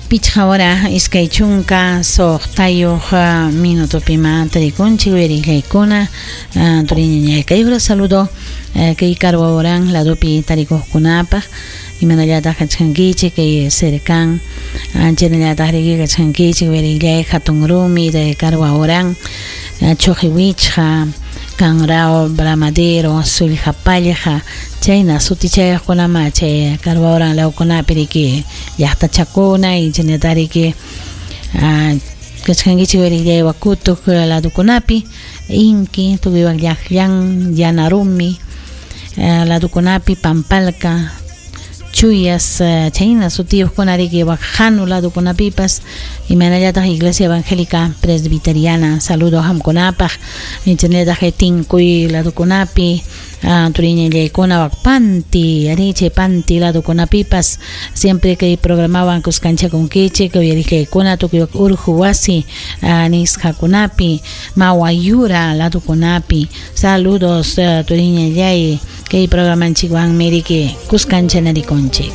Pichqa hora 26 minutopima tarikunchik uyariqllaykuna, turiñañay kay hora saludo kay Carhuahuarán ladopi tarikuqkunapaq, imanallataq kachkankichik kay cercan, chaynallataq riki kachkankichik uyariqllay hatun rumi de Carhuahuarán, Chuqiwichqa, Canrao, Bramadero, Sullqapallqa, chayna sutichayuqkunama chay Carhuahuarán lawkunapi riki llaqtachakuna y chaynata riki kachkankichik uyariqllay Wakutuq ladukunapi, Inki, tukuywan Llaqllan, Yanarumi ladukunapi, Pampalca, Chuyas, chayna sutiyuqkuna riki Waqhanu ladukunapipas, imaynallataq Iglesia Evangélica Presbiteriana, saludo qamkunapaq, chaynallataq Tinkuy ladukunapi, turiñallaykuna Waqpanti, ari chay Panti ladukunapipas, siempre kay programawan kuskanchakunkichik, uyariqllaykuna tukuy Urju wasi nisqakunapi, Mawayura ladukunapi, saludos turiñallay, kay programanchikwanmi riki kuskanchanarikunchik.